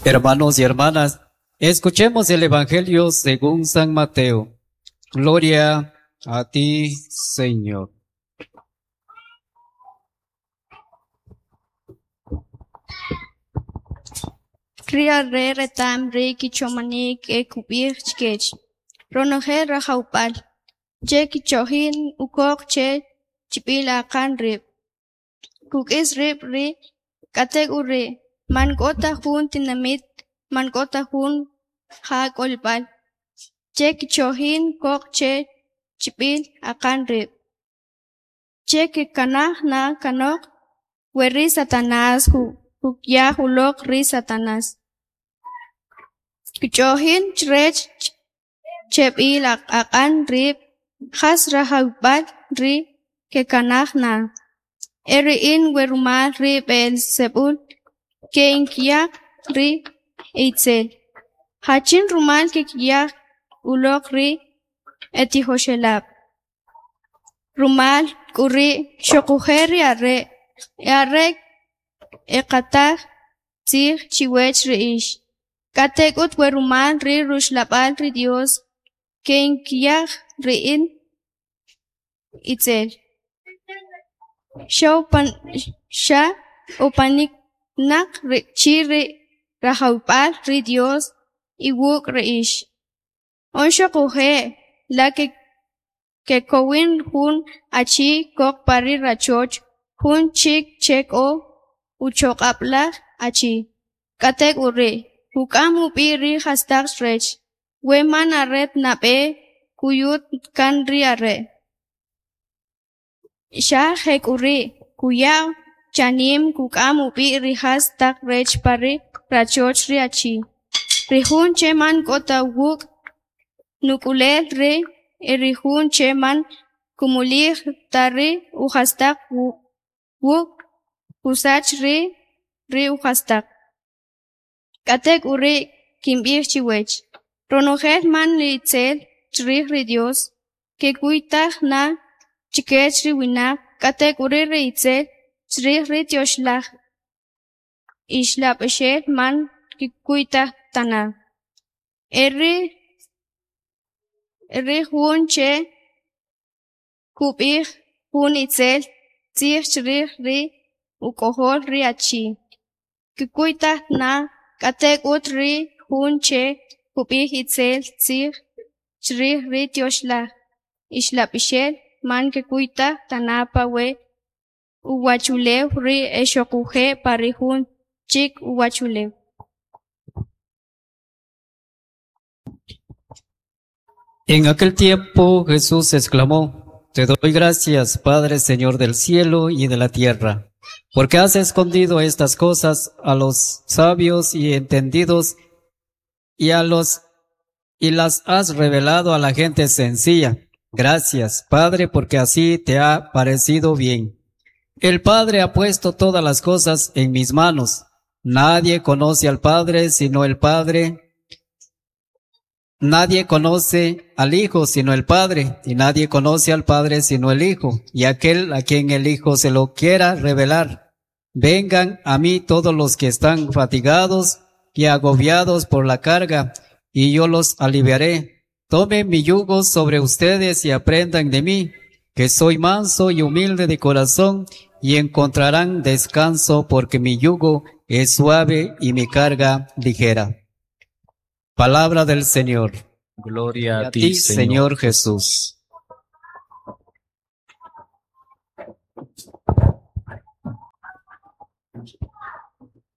Hermanos y hermanas, escuchemos el Evangelio según San Mateo. Gloria a ti, Señor. Ri are' reta'm ri kichomanik e kub'ij chkech: "Ronojel rajawb'al che kch'o'jin ukoq che chb'il aqan rib', kuk'is rib' ri'; k'atek'uri', man k'o ta jun tinamit, man k'o ta jun ja k'olb'al che kch'o'jin koq che chb'il aqan rib', che kkanaj na kanoq. We ri Satanas kuk'yaq uloq ri Satanas, kch'o'jin chrech chb'il aqan rib', ¿jas rajawib'al ri' kekanaj na? E ri in, we rumal ri B'e'elzeb'ul ke'ink'yaq ri e'itzel, ¿jachin rumal kek'yaq uloq ri etijoxelab'? Rumal k'uri', xoquje' ri are' e'are keq'ataj tzij chiwech ri ix. K'atek'ut, we rumal ri Ruxlab'al ri Dyos ke'ink'yaq ri in itzel, xa opaninaq chi ri Rajawib'al ri Dyos iwuk' ri ix. On xoquje', la kekowin jun achi kok pa ri rachoch jun chik che k'o uchoq'ab'laj achi, k'atek'uri' kuk'am ub'i ri jastaq rech, we man are nab'e kuyut kan ri are'? Xa jek'uri', kuya' chanim kuk'am ub'i ri jastaq rech pa ri rachoch ri achi. Ri jun che man k'o ta wuk', nuk'ulel ri', e ri jun che man kumulij ta ri ujastaq wuk', kusach ri' ri ujastaq. K'atek'uri', kinb'ij chiwech, ronojel man itzel chrij ri Dyos, kkuytaj na chkech ri winaq, k'atek'uri' ri itzel chrij ri Tyoxlaj Ixlab'axel man kkuytaj ta na. E ri jun che kub'ij jun itzel tzij chrij ri Uk'ojol ri achi, kkuytaj na, k'atek'ut ri jun che kub'ij itzel tzij chrij ri Tyoxlaj Ixlab'axel, man kkuytaj ta na pa we uwachulew ri' e xoquje' pa ri jun chik uwachulew. En aquel tiempo Jesús exclamó, Te doy gracias, Padre, Señor del cielo y de la tierra, porque has escondido estas cosas a los sabios y entendidos y a los y las has revelado a la gente sencilla. Gracias, Padre, porque así te ha parecido bien. El Padre ha puesto todas las cosas en mis manos. Nadie conoce al Padre sino el Padre. Nadie conoce al Hijo sino el Padre, y nadie conoce al Padre sino el Hijo, y aquel a quien el Hijo se lo quiera revelar. Vengan a mí todos los que están fatigados y agobiados por la carga, y yo los aliviaré. Tomen mi yugo sobre ustedes y aprendan de mí, que soy manso y humilde de corazón, y encontrarán descanso porque mi yugo es suave y mi carga ligera. Palabra del Señor. Gloria A ti, Señor Jesús.